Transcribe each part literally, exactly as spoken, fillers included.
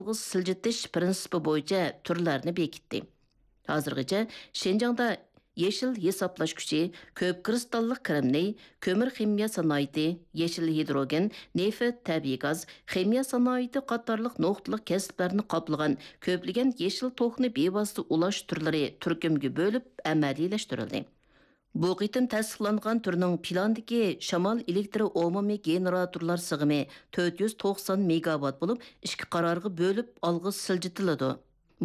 ئالغا سىلجىتىش پىرىنسىپى بويىچە تۈرلەرنى بېكىتتى. ھازىرغىچە شىنجاڭدا يېشىل ھېسابلاش كۈچى، كۆپ كىرىستاللىق كىرىمنى، كۆمۈر خىمىيە سانائىتى، يېشىل ھىدروگېن، نېفىت، تەبىئىي گاز، خىمىيە سانائىتى قاتارلىق نۇقتىلىق كەسىپلەرنى قاپلىغان كۆپلىگەن يېشىل توكنى بىۋاسىتە ئۇلاش تۈرلىرى تۈركۈمگە بۆلۈپ ئەمەلىيلەشتۈرۈلدى. بۇ قېتىم تەستىقلانغان تۈرنىڭ پىلاندىكى شامال ئېلېكتر ئومۇمىي گېنېراتورلار سىغىمى تۆت يۈز توقسان مېگاۋات بولۇپ، ئىككى قارارغا بۆلۈپ ئالغا سىلجىتىلىدۇ.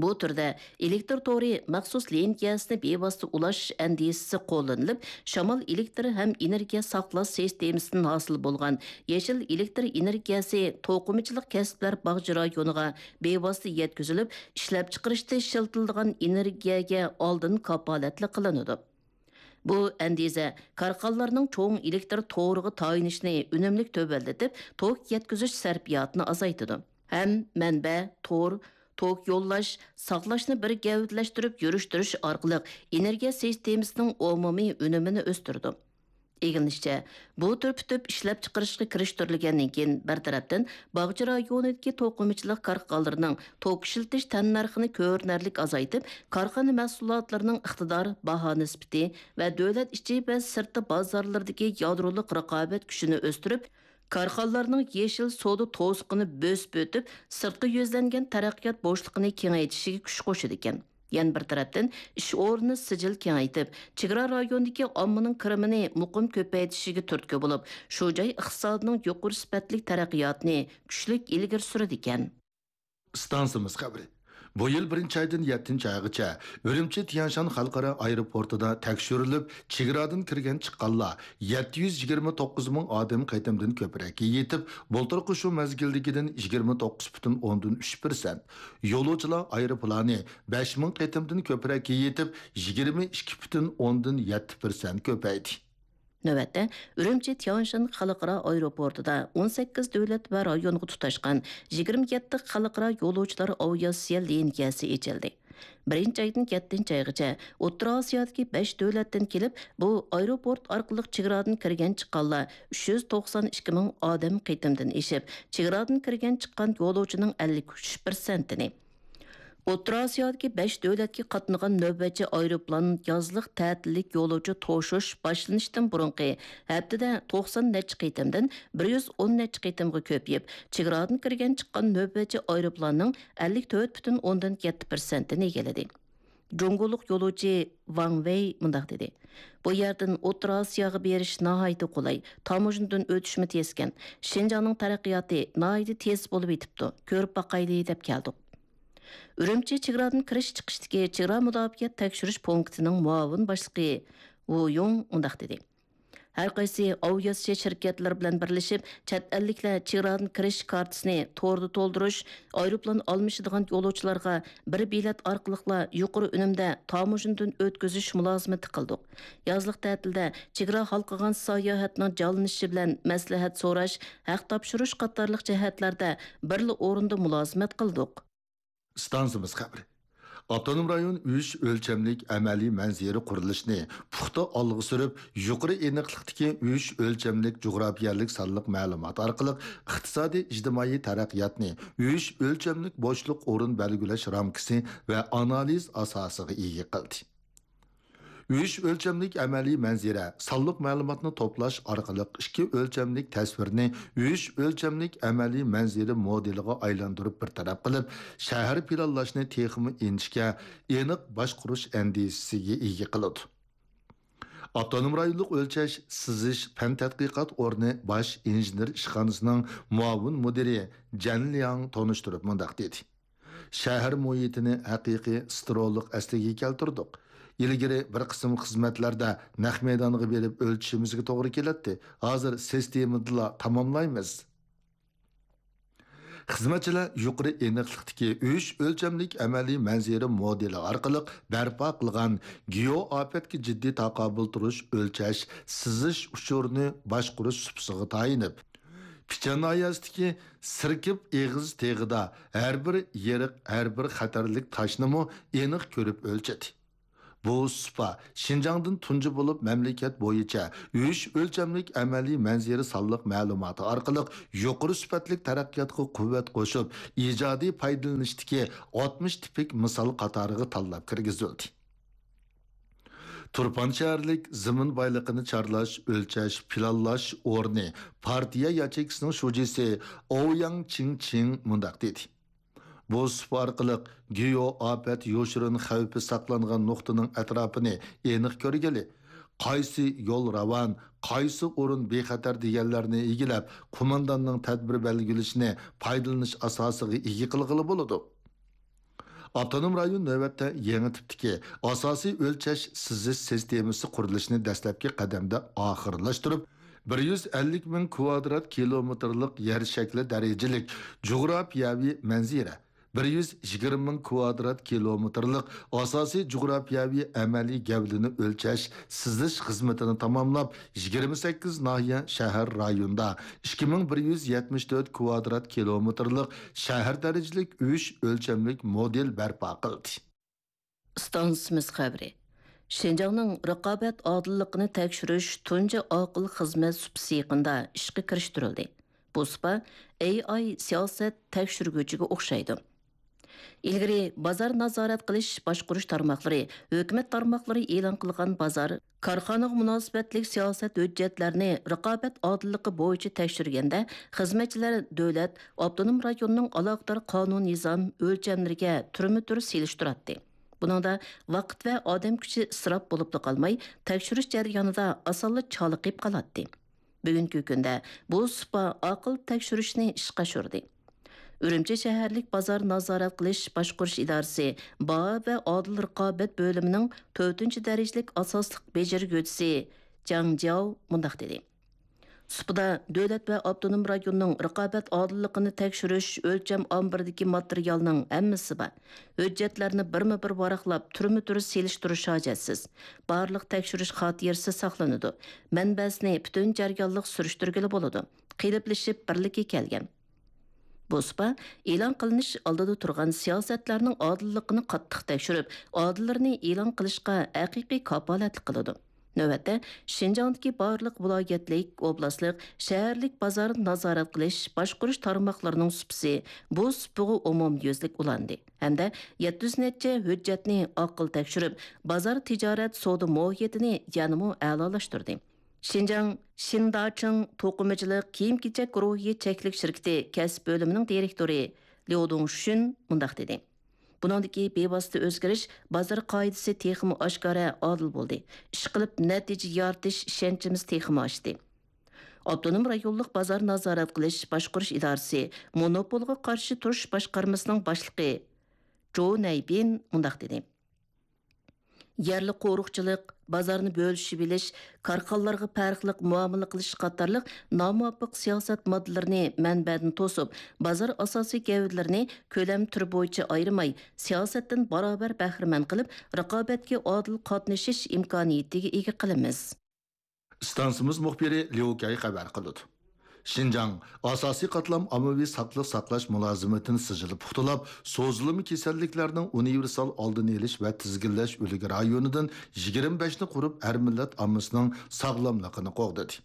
بۇ تۈردە ئېلېكتر تورى مەخسۇس لىنىيەسىنى بىۋاسىتە ئۇلاش ئەندىزىسى قوللىنىلىپ، شامال ئېلېكتر ھەم ئېنېرگىيە ساقلاش سىستېمىسىدىن ھاسىل بولغان يېشىل ئېلېكتر ئېنېرگىيەسى توقۇمىچىلىق كەسىپلەر باغچە رايونىغا بىۋاسىتە يەتكۈزۈلۈپ، ئىشلەپچىقىرىشتا ئىشلىتىلىدىغان ئېنېرگىيەگە ئالدىن كاپالەتلىك قىلىنىدۇ. بۇ ئەندىزە كارخانىلارنىڭ چوڭ ئېلېكتر تورىغا تايىنىشىنى ئۈنۈملۈك تۆۋەنلىتىپ، توك يەتكۈزۈش سەرپىياتىنى ئازايتىدۇ. ھەم مەنبە، تور، توك يوللاش، ساقلاشنى بىر گەۋدىلەشتۈرۈپ يۈرۈشتۈرۈش ئارقىلىق ئېنېرگىيە سىستېمىسىنىڭ ئومۇمىي ئۈنۈمىنى ئۆستۈرىدۇ. ئىگىلىنىشىچە، بۇ تۈر پۈتۈپ ئىشلەپچىقىرىشقا كىرىشتۈرۈلگەندىن كېيىن، بىر تەرەپتىن، باغچە رايونىدىكى توقۇمىچىلىق كارخانىلىرىنىڭ توك ئىشلىتىش تەننەرخىنى كۆرۈنەرلىك ئازايتىپ، كارخانا مەھسۇلاتلىرىنىڭ ئىقتىدار، باھا نىسبىتى ۋە دۆلەت ئىچى ۋە سىرتى بازارلىرىدىكى يادرولۇق رىقابەت كۈچىنى ئۆستۈرۈپ، كارخانىلارنىڭ يېشىل سودا توسۇقىنى بۆسۈپ ئۆتۈپ، سىرتقا يۈزلەنگەن تەرەققىيات بوشلۇقىنى كېڭەيتىشىگە كۈچ قوشىدىكەن. يەنە بىر تەرەپتىن، ئىش ئورنىنى سىجىل كېڭەيتىپ، چېگرا رايونىدىكى ئاممىنىڭ كىرىمىنى مۇقىم كۆپەيتىشىگە تۈرتكە بولۇپ، شۇ جاي ئىقتىسادىنىڭ يۇقىرى سۈپەتلىك تەرەققىياتىنى كۈچلۈك ئىلگىرى سۈرىدىكەن. ئىستانسىمىز خەۋىرى. بۇ يىل بىرىنچى ئايدىن يەتتىنچى ئايغىچە ئۈرۈمچى تيەنشان خەلقئارا ئايروپورتىدا تەكشۈرۈلۈپ، چېگرادىن كىرگەن چىققانلار يەتتە يۈز يىگىرمە توققۇز مىڭ ئادەم قېتىمدىن كۆپرەككە يېتىپ، بۇلتۇرقى شۇ مەزگىلدىكىدىن يىگىرمە توققۇز پۈتۈن ئوندىن ئۈچ پىرسەنت، يولۇچىلار ئايروپىلانى بەش مىڭ قېتىمدىن كۆپرەككە يېتىپ، يىگىرمە ئىككى پۈتۈن ئوندىن يەتتە پىرسەنت كۆپەيدى. نۆۋەتتە، ئۈرۈمچى تيانشان خەلقئارا ئايروپورتىدا ئون سەككىز دۆلەت ۋە رايونغا تۇتاشقان يىگىرمە يەتتە خەلقئارا يولۇچىلار ئاۋىئاتسىيە لىنىيەسى ئېچىلدى. بىرىنچى ئايدىن يەتتىنچى ئايغىچە ئوتتۇرا ئاسىيادىكى بەش دۆلەتتىن كېلىپ، بۇ ئايروپورت ئارقىلىق چېگرادىن كىرگەن چىققانلار ئۈچ يۈز توقسان ئىككى مىڭ ئادەم قېتىمدىن ئېشىپ، چېگرادىن كىرگەن چىققان يولۇچىنىڭ ئەللىك ئۈچ پىرسەنتىنى، ئوتتۇرا ئاسىيادىكى بەش دۆلەتكە قاتنىغان نۆۋەتچى ئايروپىلان يازلىق تەتىللىك يولۇچى توشۇش باشلىنىشتىن بۇرۇنقى ھەپتىدە توقسان نەچچە قېتىمدىن بىر يۈز ئون نەچچە قېتىمغا كۆپىيىپ، چېگرادىن كىرگەن چىققان نۆۋەتچى ئايروپىلاننىڭ ئەللىك تۆت پۈتۈن ئوندىن يەتتە پىرسەنتىنى ئىگىلىدى. جۇڭگولۇق يولۇچى ۋاڭ ۋېي مۇنداق دېدى: «بۇ يەردىن ئوتتۇرا ئاسىياغا بېرىش ناھايىتى قولاي، تاموژنىدىن ئۆتۈشمۇ تېزكەن، شىنجاڭنىڭ تەرەققىياتى ناھايىتى تېز بولۇپ يېتىپتۇ، كۆرۈپ باقايلى» دەپ كەلدۇق. ئۈرۈمچى چېگرادىن كىرىش چىقىشتىكى چېگرا مۇداپىئەت تەكشۈرۈش پونكىتىنىڭ مۇئاۋىن باشلىقى ۋۇ يۇڭ مۇنداق دېدى: «ھەر قايسى ئاۋىئاتسىيە شىركەتلىرى بىلەن بىرلىشىپ، چەت ئەللىكلەر چېگرادىن كىرىش كارتىسىنى توردا تولدۇرۇش، ئايروپىلان ئالمىشىدىغان يولۇچىلارغا بىر بېلەت ئارقىلىقلا يۇقىرى ئۈنۈمدە تاموژنىدىن ئۆتكۈزۈش مۇلازىمىتى قىلدۇق. يازلىق تەتىلدە چېگرا ھالقىغان ساياھەتنىڭ جانلىنىشى بىلەن مەسلىھەت سوراش، ھەق تاپشۇرۇش قاتارلىق جەھەتلەردە بىرلا ئورۇندا مۇلازىمەت قىلدۇق.» ئىستانسىمىز خەۋىرى. ئاپتونوم رايون ئۈچ ئۆلچەملىك ئەمەلىي مەنزىرە قۇرۇلۇشىنى پۇختا ئالغا سۈرۈپ، يۇقىرى ئېنىقلىقتىكى ئۈچ ئۆلچەملىك جۇغراپىيەلىك سانلىق مەلۇمات ئارقىلىق ئىقتىسادىي ئىجتىمائىي تەرەققىياتنى ئۈچ ئۆلچەملىك بوشلۇق ئورۇن بەلگىلەش رامكىسى ۋە ئانالىز ئاساسىغا ئىگە قىلدى. ئۈچ ئۆلچەملىك ئەمەلىي مەنزىرە سانلىق مەلۇماتنى توپلاش ئارقىلىق ئىككى ئۆلچەملىك تەسۋىرنى ئۈچ ئۆلچەملىك ئەمەلىي مەنزىرە مودېلىغا ئايلاندۇرۇپ بىر تەرەپ قىلىپ، شەھەر پىلانلاشنى تېخىمۇ ئىنچىكە، ئېنىق باشقۇرۇش ئەندىزىسىگە ئىگە قىلىدۇ. ئاپتونوم رايونلۇق ئۆلچەش، سىزىش، پەن تەتقىقات ئورنى باش ئىنژېنېر ئىشخانىسىنىڭ مۇئاۋىن مۇدىرى جەن لياڭ تونۇشتۇرۇپ مۇنداق دېدى: شەھەر مۇھىتىنى ھەقىقىي ستېرېئولۇق ئەسلىگە كەلتۈردۇق. ئىلگىرى بىر قىسىم خىزمەتلەردە نەق مەيدانغا بېرىپ ئۆلچىشىمىزگە توغرا كېلەتتى، ھازىر سىستېمىدىلا تاماملايمىز. خىزمەتچىلەر يۇقىرى ئېنىقلىقتىكى ئۈچ ئۆلچەملىك ئەمەلىي مەنزىرە مودېلى ئارقىلىق بەرپا قىلغان گېئو ئاپەتكە جىددىي تاقابىل تۇرۇش، ئۆلچەش، سىزىش ئۇچۇرىنى باشقۇرۇش سۇپىسىغا تايىنىپ، پىچان ناھىيەسىدىكى سىركىپ ئېغىز تېغىدا ھەر بىر يېرىق، ھەر بىر خەتەرلىك تاشنىمۇ ئېنىق كۆرۈپ ئۆلچىدى. بۇ سۇپا شىنجاڭدىن تۇنجى بولۇپ مەملىكەت بويىچە ئۈچ ئۆلچەملىك ئەمەلىي مەنزىرە سانلىق مەلۇماتى ئارقىلىق يۇقىرى سۈپەتلىك تەرەققىياتقا قۇۋۋەت قوشۇپ، ئىجادىي پايدىلىنىشتىكى ئاتمىش تىپىك مىسال قاتارىغا تاللاپ كىرگۈزۈلدى. تۇرپان شەھەرلىك زېمىن بايلىقىنى چارلاش، ئۆلچەش، پىلانلاش ئورنى پارتىيە ياچېيكىسىنىڭ شۇجىسى ئوۋياڭ چىڭچىڭ مۇنداق دېدى: بۇ سۇپا ئارقىلىق گېئو ئاپەت يوشۇرۇن خەۋپى ساقلانغان نۇقتىنىڭ ئەتراپىنى ئېنىق كۆرگىلى، قايسى يول راۋان، قايسى ئورۇن بىخەتەر دېگەنلەرنى ئىگىلەپ، قومانداننىڭ تەدبىر بەلگىلىشىنى پايدىلىنىش ئاساسىغا ئىگە قىلغىلى بولىدۇ. ئاپتونوم رايون نۆۋەتتە يېڭى تىپتىكى ئاساسىي ئۆلچەش سىزىش سىستېمىسى قۇرۇلۇشىنى دەسلەپكى قەدەمدە ئاخىرلاشتۇرۇپ، بىر يۈز ئەللىك مىڭ كۋادرات كىلومېتىرلىق يەر شەكلى دەرىجىلىك جۇغراپىيەۋى مەنزىرە، بىر يۈز يىگىرمە مىڭ كۋادرات كىلومېتىرلىق ئاساسىي جۇغراپىيەۋى ئەمەلىي گەۋدىنى ئۆلچەش، سىزىش خىزمىتىنى تاماملاپ، يىگىرمە سەككىز ناھىيە، شەھەر، رايوندا ئىككى مىڭ بىر يۈز يەتمىش تۆت كۋادرات كىلومېتىرلىق شەھەر دەرىجىلىك ئۈچ ئۆلچەملىك مودېل بەرپا قىلدى. ئىستانسىمىز خەۋىرى. شىنجاڭنىڭ رىقابەت ئادىللىقىنى تەكشۈرۈش تۇنجى ئاقىل خىزمەت سۇپىسى يېقىندا ئىشقا كىرىشتۈرۈلدى. بۇ سۇپا ئېي ئاي سىياسەت تەكشۈرگۈچىگە ئوخشايدۇ. ئىلگىرى بازار نازارەت قىلىش باشقۇرۇش تارماقلىرى، ھۆكۈمەت تارماقلىرى ئېلان قىلغان بازار، كارخانىغا مۇناسىۋەتلىك سىياسەت ھۆججەتلەرنى رىقابەت ئادىللىقى بويىچە تەكشۈرگەندە، خىزمەتچىلەر دۆلەت، ئاپتونوم رايوننىڭ ئالاقىدار قانۇن نىزام ئۆلچەملىرىگە تۈرمە تۈر سېلىشتۇراتتى. بۇنىڭدا ۋاقىت ۋە ئادەم كۈچى ئىسراپ بولۇپلا قالماي، تەكشۈرۈش جەريانىدا ئاسانلا چالىقىپ قالاتتى. بۈگۈنكى كۈندە بۇ سۇپا ئاقىل تەكشۈرۈشنى ئىشقا ئاشۇردى. ئۈرۈمچى شەھەرلىك بازار نازارەت قىلىش باشقۇرۇش ئىدارىسى باھا ۋە ئادىل رىقابەت بۆلۈمىنىڭ تۆتىنچى دەرىجىلىك ئاساسلىق بېجىرگۈچىسى جاڭ جياۋ مۇنداق دېدى: سۇپىدا دۆلەت ۋە ئاپتونوم رايوننىڭ رىقابەت ئادىللىقىنى تەكشۈرۈش ئۆلچەم ئامبىرىدىكى ماتېرىيالنىڭ ھەممىسى بار. ھۆججەتلەرنى بىرمۇ بىر ۋاراقلاپ، تۈرمە تۈر سېلىشتۇرۇش ھاجەتسىز. بارلىق تەكشۈرۈش خاتىرىسى ساقلىنىدۇ. مەنبەسىنى پۈتۈن جەريانلىق سۈرۈشتۈرگىلى بولىدۇ. قېلىپلىشىپ بىرلىككە كەلگەن. بۇ سۇپا ئېلان قىلىنىش ئالدىدا تۇرغان سىياسەتلەرنىڭ ئادىللىقىنى قاتتىق تەكشۈرۈپ، ئادىللىرىنى ئېلان قىلىشقا ھەقىقىي كاپالەتلىك قىلىدۇ. نۆۋەتتە، شىنجاڭدىكى بارلىق ۋىلايەتلىك، ئوبلاستلىق، شەھەرلىك بازارنى نازارەت قىلىش، باشقۇرۇش تارماقلىرىنىڭ سۇپىسى بۇ سۇپىغا ئومۇميۈزلۈك ئۇلاندى ھەمدە يەتتە يۈز نەچچە ھۆججەتنى ئاقىل تەكشۈرۈپ، بازار تىجارەت سودا مۇھىتىنى يەنىمۇ ئەلالاشتۇردى. شىنجاڭ شىنداچىڭ توقۇمىچىلىق كىيىم-كېچەك گۇرۇھى چەكلىك شىركىتى كەسىپ بۆلۈمىنىڭ دىرېكتورى ليۇ دۇڭشۈن مۇنداق دېدى: بۇنىڭدىكى بىۋاسىتە ئۆزگىرىش بازار قائىدىسى تېخىمۇ ئاشكارا، ئادىل بولدى. ئىشقىلىپ نەتىجە يارىتىش ئىشەنچىمىز تېخىمۇ ئاشتى. ئاپتونوم رايونلۇق بازار نازارەت قىلىش باشقۇرۇش ئىدارىسى مونوپولغا قارشى تۇرۇش باشقارمىسىنىڭ باشلىقى جو نەيبىن مۇنداق دېدى: يەرلىك قورۇقچىلىق، بازارنى بۆلۈشۈۋېلىش، كارخانىلارغا پەرقلىق مۇئامىلە قىلىش قاتارلىق نامۇۋاپىق سىياسەت ماددىلىرىنى مەنبەدىن توسۇپ، بازار ئاساسىي گەۋدىلىرىنى كۆلەم تۈر بويىچە ئايرىماي، سىياسەتتىن باراۋەر بەھرىمەن قىلىپ، رىقابەتكە ئادىل قاتنىشىش ئىمكانىيىتىگە ئىگە قىلىمىز. ئىستانسىمىز مۇخبىرى ليۇ كەي خەۋەر قىلىدۇ. شىنجاڭ ئاساسىي قاتلام ئاممىۋى ساقلىق ساقلاش مۇلازىمىتىنى سىجىل پۇختىلاپ، سوزۇلما كېسەللىكلەرنىڭ ئۇنىۋېرسال ئالدىنى ئېلىش ۋە تىزگىنلەش ئۆلكە رايونىدىن يىگىرمە بەشنى قۇرۇپ، ھەر مىللەت ئاممىسىنىڭ ساغلاملىقىنى قوغدىدى.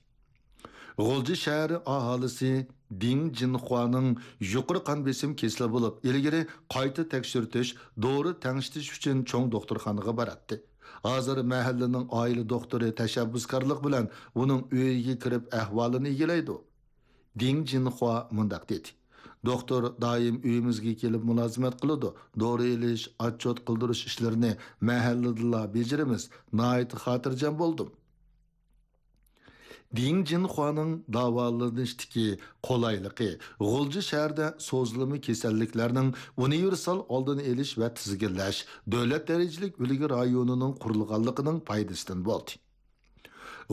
غۇلجا شەھىرى ئاھالىسى دىڭ جىنخۇانىڭ يۇقىرى قان بېسىم كېسىلى بولۇپ، ئىلگىرى قايتا تەكشۈرتۈش، دورا تەڭشىتىش ئۈچۈن چوڭ دوختۇرخانىغا باراتتى. ھازىر مەھەللىنىڭ ئائىلە دوختۇرى تەشەببۇسكارلىق بىلەن ئۇنىڭ ئۆيىگە كىرىپ ئەھۋالىنى ئىگىلەيدۇ. دىڭ جىنخۇا مۇنداق دېدى: دوختۇر دائىم ئۆيىمىزگە كېلىپ مۇلازىمەت قىلىدۇ. دورا ئېلىش، ئاتچوت قىلدۇرۇش ئىشلىرىنى مەھەللىدىلا بېجىرىمىز. ناھايىتى خاتىرجەم بولدۇم. دىڭ جىنخۇانىڭ داۋالىنىشتىكى قولايلىقى غۇلجا شەھىرىدە سوزۇلما كېسەللىكلەرنىڭ ئۇنىۋېرسال ئالدىنى ئېلىش ۋە تىزگىنلەش دۆلەت دەرىجىلىك ئۈلگە رايونىنىڭ قۇرۇلغانلىقىنىڭ پايدىسىدىن بولدى.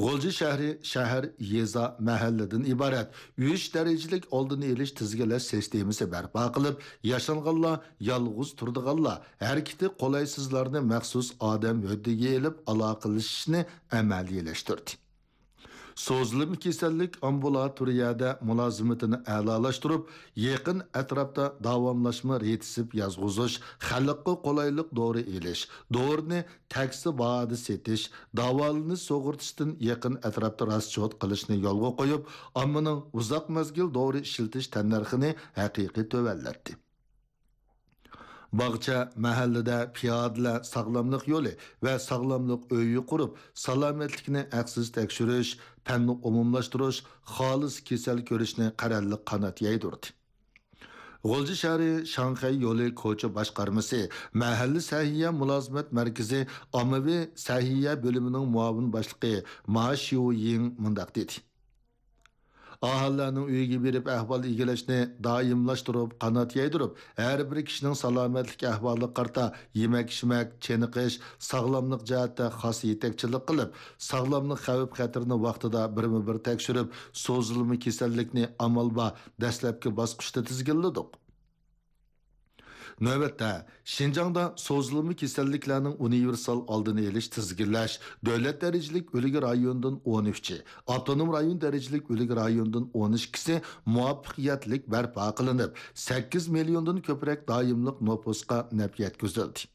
غۇلجا شەھىرى شەھەر، يېزا، مەھەللىدىن ئىبارەت ئۈچ دەرىجىلىك ئالدىنى ئېلىش تىزگىنلەش سىستېمىسى بەرپا قىلىپ، ياشانغانلار، يالغۇز تۇرىدىغانلار، ھەرىكىتى قولايسىزلارنى مەخسۇس ئادەم ھۆددىگە ئېلىپ ئالاقىلىشىشنى ئەمەلىيلەشتۈردى. سوزۇلما كېسەللىك ئامبۇلاتورىيەدە مۇلازىمىتىنى ئەلالاشتۇرۇپ، يېقىن ئەتراپتا داۋاملاشما رېتسېپ يازغۇزۇش، خەلققە قولايلىق دورا ئېلىش، دورىنى تەكسى باھادا سېتىش، داۋالىنىش سۇغۇرتىسىدىن يېقىن ئەتراپتا راسچوت قىلىشنى يولغا قويۇپ، ئاممىنىڭ ئۇزاق مەزگىل دورا ئىشلىتىش تەننەرخىنى ھەقىقىي تۆۋەنلەتتى. باغچە، مەھەللىدە پىيادىلەر ساغلاملىق يولى ۋە ساغلاملىق ئۆيى قۇرۇپ، سالامەتلىكنى ھەقسىز تەكشۈرۈش، پەننى ئومۇملاشتۇرۇش، خالىس كېسەل كۆرۈشنى قەرەللىك قانات يايدۇردى. غۇلجا شەھىرى شاڭخەي يولى كوچا باشقارمىسى مەھەللە سەھىيە مۇلازىمەت مەركىزى ئاممىۋى سەھىيە بۆلۈمىنىڭ مۇئاۋىن باشلىقى ما شيۇيىڭ مۇنداق دېدى. ئاھالىلەرنىڭ ئۆيىگە بېرىپ ئەھۋال ئىگىلەشنى دائىملاشتۇرۇپ، قانات يايدۇرۇپ، ھەر بىر كىشىنىڭ سالامەتلىك ئەھۋالىغا قارىتا يېمەك-ئىچمەك، چېنىقىش، ساغلاملىق جەھەتتە خاس يېتەكچىلىك قىلىپ، ساغلاملىق خەۋپ-خەتىرىنى ۋاقتىدا بىرمۇبىر تەكشۈرۈپ، سوزۇلما كېسەللىكنى ئامال بار دەسلەپكى باسقۇچتا تىزگىنلىدۇق. نۆۋەتتە، شىنجاڭدا سوزۇلما كېسەللىكلەرنىڭ ئۇنىۋېرسال ئالدىنى ئېلىش، تىزگىنلەش، دۆلەت دەرىجىلىك ئۈلگە رايونىدىن ئون ئۈچى، ئاپتونوم رايون دەرىجىلىك ئۈلگە رايونىدىن ئون ئىككىسى مۇۋەپپەقىيەتلىك بەرپا قىلىنىپ، سەككىز مىليوندىن كۆپرەك دائىملىق نوپۇسقا نەپ يەتكۈزۈلدى.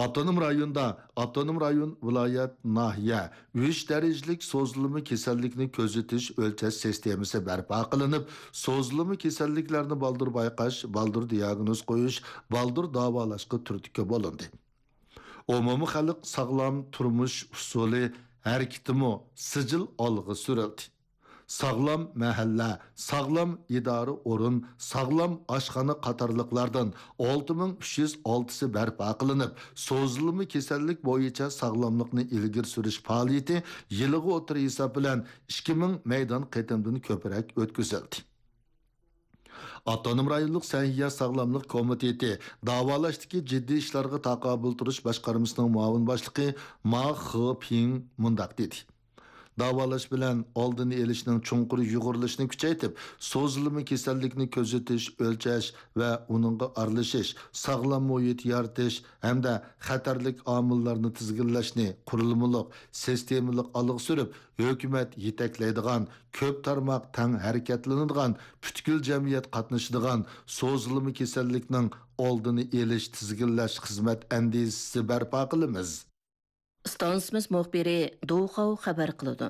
ئاپتونوم رايوندا ئاپتونوم رايون، ۋىلايەت، ناھىيە، ئۈچ دەرىجىلىك سوزۇلما كېسەللىكنى كۆزىتىش، ئۆلچەش سىستېمىسى بەرپا قىلىنىپ، سوزۇلما كېسەللىكلەرنى بالدۇر بايقاش، بالدۇر دىياگنوز قويۇش، بالدۇر داۋالاشقا تۈرتكە بولۇندى. ئومۇمىي خەلق ساغلام تۇرمۇش ئۇسۇلى ھەرىكىتىمۇ سىجىل ئالغا سۈرۈلدى. ساغلام مەھەللە، ساغلام ئىدارە ئورۇن، ساغلام ئاشخانا قاتارلىقلاردىن ئالتە مىڭ ئۈچ يۈز ئالتىسى بەرپا قىلىنىپ، سوزۇلما كېسەللىك بويىچە ساغلاملىقنى ئىلگىرى سۈرۈش پائالىيىتى يىلىغا ئوتتۇرا ھېساب بىلەن ئىككى مىڭ مەيدان قېتىمدىن كۆپرەك ئۆتكۈزۈلدى. ئاپتونوم رايونلۇق سەھىيە ساغلاملىق كومىتېتى داۋالاشتىكى جىددىي ئىشلارغا تاقابىل تۇرۇش باشقارمىسىنىڭ مۇئاۋىن باشلىقى ما خېپىڭ مۇنداق دېدى. داۋالاش بىلەن ئالدىنى ئېلىشنىڭ چوڭقۇر يۇغۇرۇلۇشىنى كۈچەيتىپ، سوزۇلما كېسەللىكنى كۆزىتىش، ئۆلچەش ۋە ئۇنىڭغا ئارىلىشىش، ساغلام مۇھىت يارىتىش ھەمدە خەتەرلىك ئامىللارنى تىزگىنلەشنى قۇرۇلمىلىق، سىستېمىلىق ئالغا سۈرۈپ، ھۆكۈمەت يېتەكلەيدىغان، كۆپ تارماق تەڭ ھەرىكەتلىنىدىغان، پۈتكۈل جەمئىيەت قاتنىشىدىغان سوزۇلما كېسەللىكنىڭ ئالدىنى ئېلىش، تىزگىنلەش خىزمەت ئەندىزىسى بەرپا قىلىمىز. ئىستانسىمىز مۇخبىرى دۇخاۋ خەۋەر قىلىدۇ.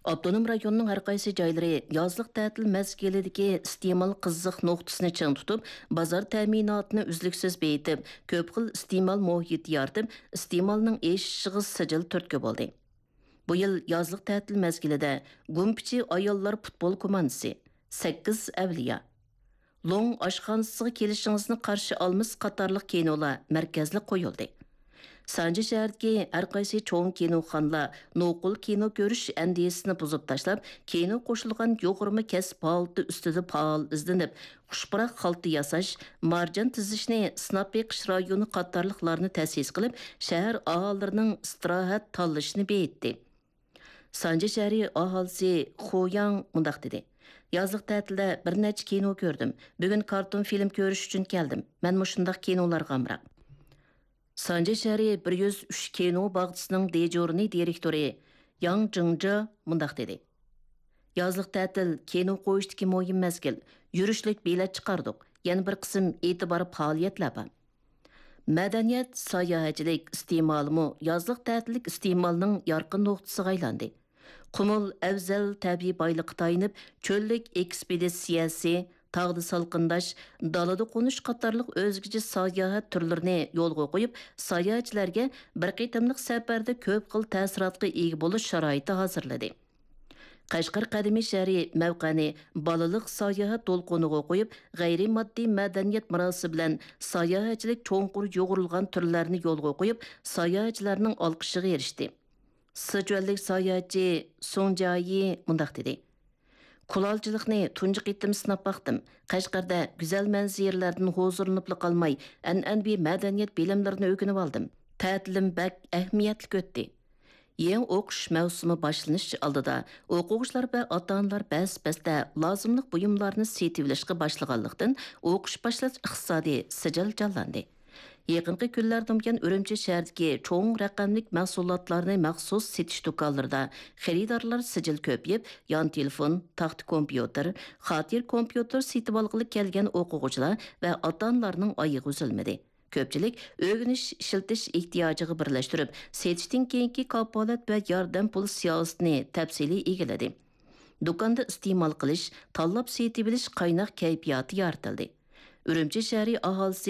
ئاپتونوم رايوننىڭ ھەر قايسى جايلىرى يازلىق تەتىل مەزگىلىدىكى ئىستېمال قىزىق نۇقتىسىنى چىڭ تۇتۇپ، بازار تەمىناتىنى ئۈزلۈكسىز بېيىتىپ، كۆپ خىل ئىستېمال مۇھىتى يارىتىپ، ئىستېمالنىڭ ئېشىشىغا سىجىل تۈرتكە بولدى. بۇ يىل يازلىق تەتىل مەزگىلىدە گۇمپىچى ئاياللار پۇتبول كوماندىسى، سەككىز ئەۋلىيا، لوڭ ئاشخانىسىغا كېلىشىڭىزنى قارشى ئالىمىز قاتارلىق كىنولار مەركەزلىك قويۇلدى. سانجى شەھىرىدىكى ھەر قايسى چوڭ كىنوخانىلار نوقۇل كىنو كۆرۈش ئەندىزىسىنى بۇزۇپ تاشلاپ، كىنو قوشۇلغان يۇغۇرما كەسىپ ھالىتى ئۈستىدە پائال ئىزدىنىپ، خۇش پۇراق خالتا ياساش، مارجان تىزىشنى سىناپ بېقىش رايونى قاتارلىقلارنى تەسىس قىلىپ، شەھەر ئاھالىلىرىنىڭ ئىستىراھەت تاللىشىنى بېيىتتى. سانجى شەھىرى ئاھالىسى خۇياڭ مۇنداق دېدى: يازلىق تەتىلدە بىر نەچچە كىنو كۆردۈم. بۈگۈن كارتون فىلىم كۆرۈش ئۈچۈن كەلدىم. مەن مۇشۇنداق كىنولارغا ئامراق. سانجى شەھىرى بىر يۈز ئۈچ كىنو باغچىسىنىڭ دىجورنى دىرېكتورى ياڭ جىڭجې مۇنداق دېدى: يازلىق تەتىل كىنو قويۇشتىكى مۇھىم مەزگىل. يۈرۈشلۈك بېلەت چىقاردۇق. يەنە بىر قىسىم ئېتىبار پائالىيەتلەر بار. مەدەنىيەت، ساياھەتچىلىك ئىستېمالىمۇ يازلىق تەتىللىك ئىستېمالنىڭ يارقىن نۇقتىسىغا ئايلاندى. قۇمۇل ئەۋزەل تەبىئىي بايلىققا تايىنىپ، چۆللۈك ئېكسپېدىتسىيەسى، تاغدا سالقىنداش، دالىدا قونۇش قاتارلىق ئۆزگىچە ساياھەت تۈرلىرىنى يولغا قويۇپ، ساياھەتچىلەرگە بىر قېتىملىق سەپەردە كۆپ خىل تەسىراتقا ئىگە بولۇش شارائىتى ھازىرلىدى. قەشقەر قەدىمىي شەھىرى مەۋقەنى بالىلىق ساياھەت دولقۇنىغا قويۇپ، غەيرىي ماددىي مەدەنىيەت مىراسى بىلەن ساياھەتچىلىك چوڭقۇر يۇغۇرۇلغان تۈرلەرنى يولغا قويۇپ، ساياھەتچىلەرنىڭ ئالقىشىغا ئېرىشتى. سىچۈەنلىك ساياھەتچى سۇڭ جيايى مۇنداق دېدى: كۇلالچىلىقنى تۇنجى قېتىم سىناپ باقتىم. قەشقەردە گۈزەل مەنزىرىلەردىن ھۇزۇرلىنىپلا قالماي، ئەنئەنىۋى مەدەنىيەت بىلىملىرىنى ئۆگىنىپ ئالدىم. تەتىلىم بەك ئەھمىيەتلىك ئۆتتى. يېڭى ئوقۇش مەۋسۇمى باشلىنىش ئالدىدا ئوقۇغۇچىلار ۋە ئاتا-ئانىلار بەس-بەستە لازىملىق بۇيۇملارنى سېتىۋېلىشقا باشلىغانلىقتىن، ئوقۇش باشلاش ئىقتىسادى سىجىل جانلاندى. يېقىنقى كۈنلەردىن بۇيان ئۈرۈمچى شەھىرىدىكى چوڭ رەقەملىك مەھسۇلاتلارنى مەخسۇس سېتىش دۇكانلىرىدا خېرىدارلار سىجىل كۆپىيىپ، يان تېلېفون، تاختا كومپيۇتېر، خاتىرە كومپيۇتېر سېتىۋالغىلى كەلگەن ئوقۇغۇچىلار ۋە ئاتا-ئانىلارنىڭ ئايىغى ئۈزۈلمىدى. كۆپچىلىك ئۆگىنىش ئىشلىتىش ئېھتىياجىغا بىرلەشتۈرۈپ، سېتىشتىن كېيىنكى كاپالەت ۋە ياردەم پۇل سىياسىتىنى تەپسىلىي ئىگىلىدى. دۇكاندا ئىستېمال قىلىش، تاللاپ سېتىۋېلىش قايناق كەيپىياتى يارىتىلدى. ئۈرۈمچى شەھىرى ئاھالىسى